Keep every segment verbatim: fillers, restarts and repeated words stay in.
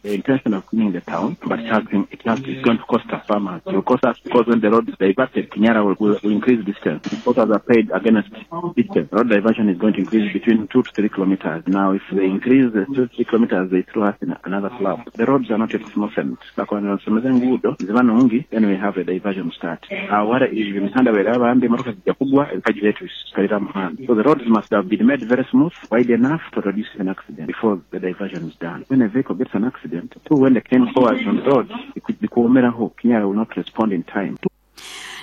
The intention of cleaning the town, but it has been, it has, it's going to cost us farmers. It will cost us because when the road is diverted, Kinyara will, will, will increase distance. Importers are paid against distance. Road diversion is going to increase between two to three kilometers. Now, if they increase the two to three kilometers, they throw us in another slab. The roads are not yet smoothened. Bakonera ngudo ziba nungi, then we have a diversion start. Awara emihanda bweraba mbi emotoka zijja kugwa ebikajjo byaitu bisikalira muhanda. So the roads must have been made very smooth, wide enough to reduce an accident before the diversion is done. When a vehicle gets an accident, two when the cane forwards on the road, bikuwomeraho, Kinyara will not respond in time.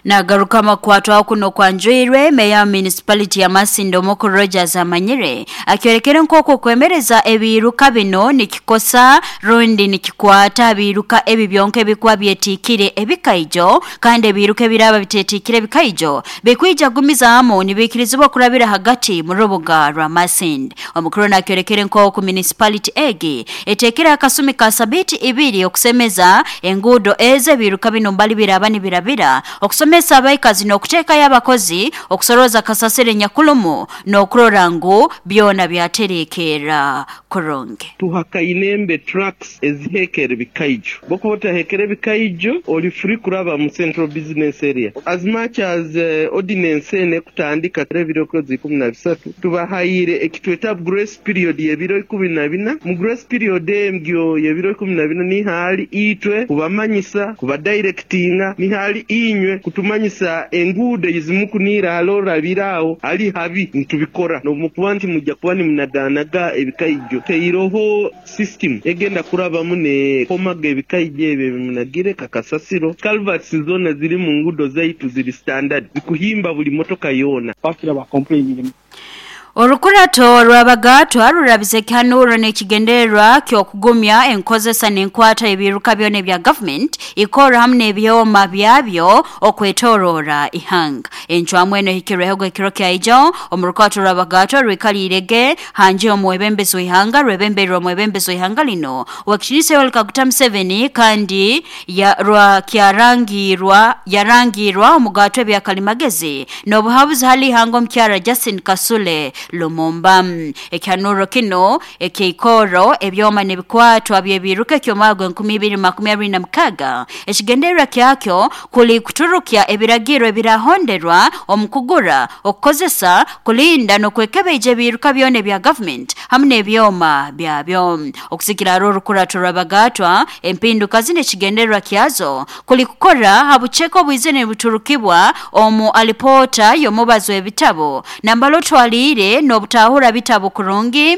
Nagaruka makwatwa kuno kwanjwirwe meya municipality ya Masindi Omukuru Rogers Amanyire akyorekera nkoko kwemereza ebiruka bino nikikosa rundi nikikwata ebiruka ebi byonke ebikuba byetikire ebikaijo kandi ebiruka ebiraba bitetikire ebikaijo bikwija gumizamu nibikirizibwa kurabira hagati mu rubuga rwa Masindi. Omukuru nakyorekera nkoko municipality egi etekera akasumi ka sabiti ibiri okusemeza engudo eze ebiruka bino mbali biraba nibirabira okusome abaikazi n'okuteeka y'abakozi okusoroza kasasire nyakulumu n'okurora ngu byona byaterekeera kurungi. Tuhakainembe trucks ezihekere bikaijo bokuba otahekere bikaijo oli free kuraba mu central business area as much as uh, ordinance ene kutandika ebiro ikumi na bisatu tubahayire ekitweta grace period y'ebiro ikumi na bina. Mu grace period emgyo y'ebiro ikumi na bina nihali itwe kubamanyisa kubadirectinga nihali inywe kutumanyisa enguudo ezimukunira alorabirawo ali habi ntubikora nomukuba nti mujja kuba nimunaganaga ebikaijo teiroho system egenda kurabamu ne komaga ebikaijo ebyo bimunagire kakasasiro. Culverts zona ziri mu ngudo zaitu ziri standard zikuhimba buli motoka yona bakira ba complaining. Orukurato rw'abagatwa rurabize ekihanuro n'ekigendererwa ky'okugumya enkozesa n'enkwata ebiruka byona ebya government ikora hamwe n'ebyoma byabyo okwetorora ihanga. Encwamu eno ehikirweho ekiro kya ijo omu rukurato rw'abagatwa rwikalirege hanje omwebembezi w'ihanga rwebemberwa omwebembezi w'ihanga lino Owekitinisa Yoweri Kaguta Museveni kandi ya rwa kyarangirwa yarangirwa omugatwa ebya kalimagezi n'obuhabuzi hali ihanga omukyara Justin Kasule Lumumba. Ekihanuro kino ekeikoro ebyoma n'ebikwatwa by'ebiruka eky'omwaka enkumi ibiri makumi abiri na mukaga ekigendererwa kyakyo kuli kuturukya ebiragiro ebirahonderwa omu kugura okukozesa kulinda n'okwekebeija ebiruka byona ebya government hamwe n'ebyoma byabyo. Okusikira aro orukurato rw'abagatwa empinduka zino ekigendererwa kyazo kuli kukora habucheko obwizine buturukibwa omu alipota y'omubazi w'ebitabo nambalo twalire n'obutahura bitabo kurungi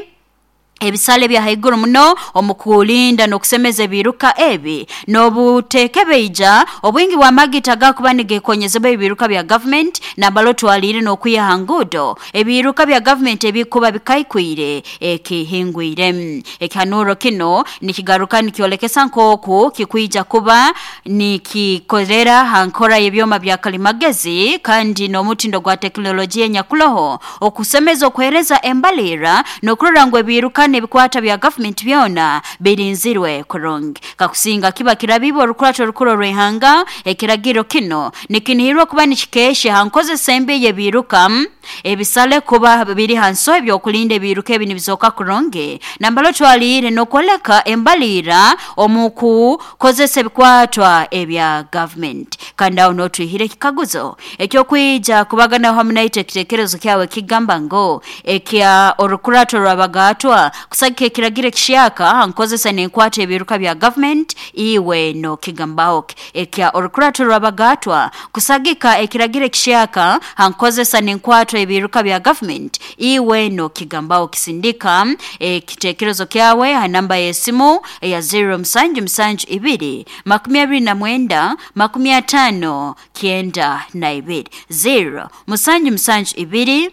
ebisale bya haiguru muno omukulinda n'okusemeza ebiruka ebi n'obutekebeija obwingi bwa magita gakuba nigekonyezebwa ebiruka bya government nambalo twalire n'okwiha ngudo ebiruka bya government ebikuba bikaikwire ekihingwire. Ekihanuro kino nikigaruka nikyolekesa nkoku kikwija kuba nikikorera hankora y'ebyoma bya kalimagezi kandi n'omutindo gwa teknolojia nyakuloho okusemeza okuhereza embalira n'okurora ngu ebiruka n'ebikwata bya government byona birinzirwe kurungi. Kakusinga kiba kirabibo orukurato orukuru rw'ihanga ekiragiro kino nikinihirwa kuba nikikeshe hankozesa embi y'ebiruka ebisale kuba biri hanso ebyokulinda ebiruka ebi nibizoka kurungi nambalo twalire n'okwoleka embalira omu kukozesa ebikwatwa ebya government. Kandi aho n'otwihire ekikaguzo ekyokwija kubagana hamwe naitwe ekitekerezo kyawe kigamba ngo ekya orukurato rw'abagatwa kusagika ekiragiro ekishyaka nkozesa n'enkwata ebiruka bya government iwe no kigambaho ekya orukurato rw'abagatwa kusagika ekiragiro ekishyaka hankozesa n'enkwata ebiruka bya government iwe no kigambaho. Kisindika ekitekerezo kyawe ha namba y'esimu eya zero musanju musanju ibiri makumi abiri na mwenda makumi atano kyenda na ibiri zero musanju musanju ibiri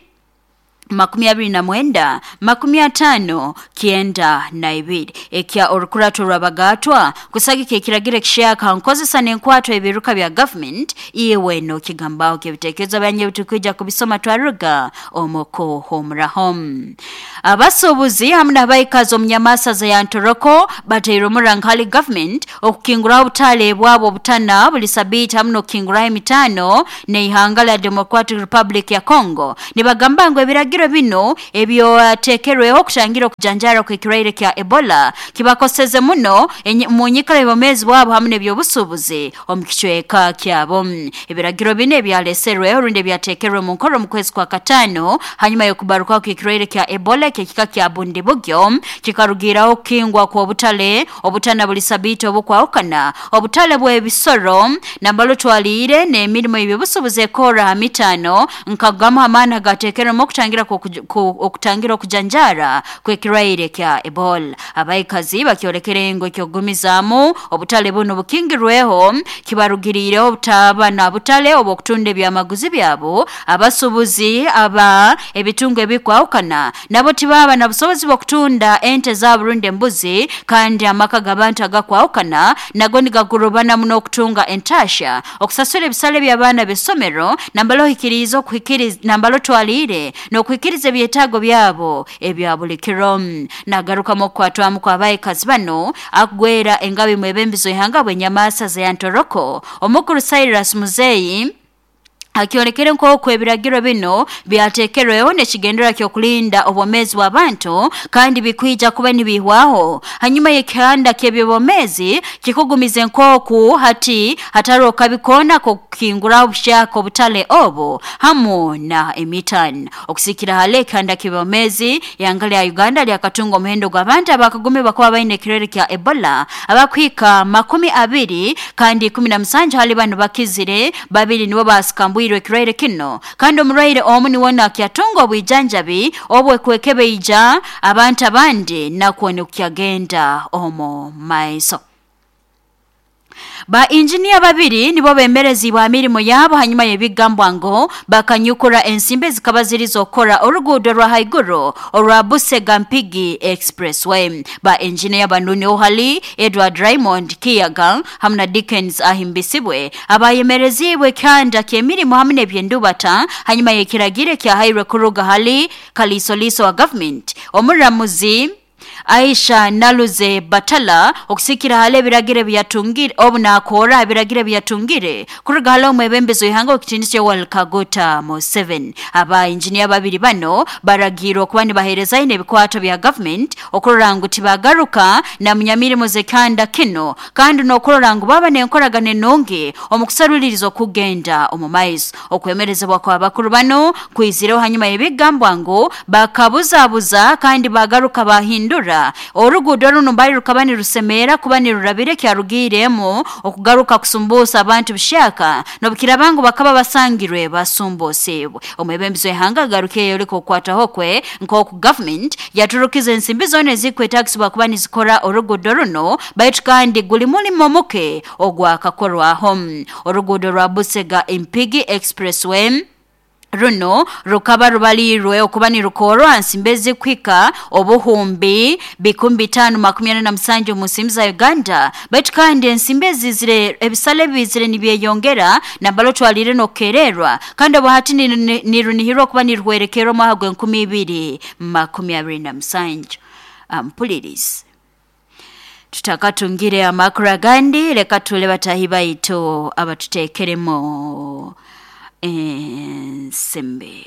makumi abiri na mwenda makumi atano kyenda na ibiri. Ekya orukurato rw'abagatwa kusagika ekiragiro ekishyaka nkozesa n'enkwatwa ebiruka bya government iwe no kigambaho kebitekerezo byanye bitukija kubisoma twaruga omoko homuraho. Abasuubuzi hamwe n'abaikazi omunyamasaza ya Ntoroko bateire omurankali government okukinguraho obutale bwabo obutana buli sabiiti hamwe n'okukinguraho emitano n'eihanga lya Democratic Republic ya Congo nibagamba ngu ebiragiro ebiragiro bino ebyotekerweho okutangira okujanjara kw'ekirwaire kya Ebola kibakoseze muno mu nyikara y'obwomeezi bwabo hamu n'ebyobusuubuzi omu kicweka kyabo. Ebiragiro bino ebyaleserweho rundi ebyatekerwe mu nkoro mu kwezi kwa kataano hanyuma y'okubarukaho kw'ekirwaire kya Ebola eky'ekika kya Bundibugyo kikarugiraho okukingwa kw'obutale obutana buli sabiiti obukwahukana, obutale bw'ebisoro nambalo twaliire n'emirimo y'ebyobusuubuzi ekora ha mitaano nkagamu amaani agateekerwemu okutangira okutangira okujanjara kw'ekirwaire kya Ebola. Abaikazi bakyolekere ngu eky'okugumizaamu obutale buno bukingirweho kibarugiriireho obutaba na butale obw'okutunda ebyamaguzi byabo. Abasuubuzi aba ebitungo ebikwahukana nabo tibaba na busobozi bw'okutunda ente zaabo rundi embuzi, kandi amaka g'abantu agakwahukana nago nigagurubana muno okutunga entasha, okusasura ebisale by'abaana b'essomero nambalo ohikiriize okuhikiriza nambalo twaliire n'okuhikiriza ebyetaago byabo ebya buli kiro. Nagarukamu okukwatwamu kw'abaikazi bano akugwera engabi mwebembizo ihanga bw'enyamaasa za Ntoroko omukuru Cyrus Muzeyi akyolekere nk'oku ebiragiro bino byatekerweho n'ekigendererwa ky'okulinda obwomeezi bw'abantu kandi bikwija kuba nibihwaho hanyuma y'ekihanda ky'ebyobwomeezi kikugumize nk'oku hati hatariho kabi koona k'okukinguraho obushaka obutale obu hamu na emitano. Okusikira hale ekihanda ky'ebyobwomeezi ihanga lya Uganda lyakatunga omuhendo gw'abantu abakagumibwa kuba baine ekirwaire kya Ebola abakuhika makumi abiri kandi ikumi na musanju hali bano bakizire, babiri nibo basikambwirwe ekirwaire kino kandi omurwaire omu niwona akyatunga obwijanjabi obwekwekebeija abantu abandi nakwo nikukyagenda omu maiso. Ba injinia babiri nibo bemerezibwa mirimo yabo hanyuma y'ebigambwa ngo bakanyukura ensimbi zikaba ziri zokora oruguudo rwa haiguru orwa Busega Mpigi Expressway. Ba injinia bano ni ohali Edward Raymond Kiyaga hamu na Dickens Ahimbisibwe abayemerezibwe kyanda ky'emirimo hamu n'ebyendubata hanyuma y'ekiragiro kyahairwe kuruga hali kalisoliso wa government omuramuzi Aisha Naluze Batala okusikira hale ebiragiro byatungire obu nakora ebiragiro byatungire kuruga hale omwebembezo ihanga okitiinisa Yoweri Kaguta Museveni. Aba injinia babiri bano baragirwa okuba nibaheereza ine ebikwato bya government okurora ngu tibagaruka na munyamirimo zekanda kino kandi n'okurora ngu baba n'enkoragana enungi omu kusaruliriza okugenda omu maiso. Okwemerezebwa kw'abakuru bano kwizireho hanyuma y'ebigambwa ngu bakabuzabuza kandi bagaruka bahindura oruguudo runo mbali rukaba nirusemera kuba nirurabire kyarugiremu okugaruka kusumbusa abantu bishaka n'obukiraba ngu bakaba basangirwe basumbuusibwe. Omwebembizi w'ihanga agarukiyeyo yoreka okukwataho kwe nk'oku government yaturukiza ensimbi zoona ezikwetagisibwa kuba nizikora oruguudo runo baitu kandi guli mulimo muke ogwakakorwaho. Oruguudo rwa Busega Mpigi Expressway runo rukaba rubalirwe okuba nirukorwa nsimbi ezikuhika obuhumbi bikumi bitaano makumi ana na musanju mu nsimbi za Uganda baitu kandi ensimbi ezizire ebisale bizire nibyeyongera nambalo twalire n'okukererwa kandi obuhati nirunihirwa okuba niruhwerekerwa omwaka gw'enkumi ibiri makumi abiri na musanju. Ampulirizi tutakatungire amakuru agandi leka tule batahi baitu abatuteekeremu ensimbi.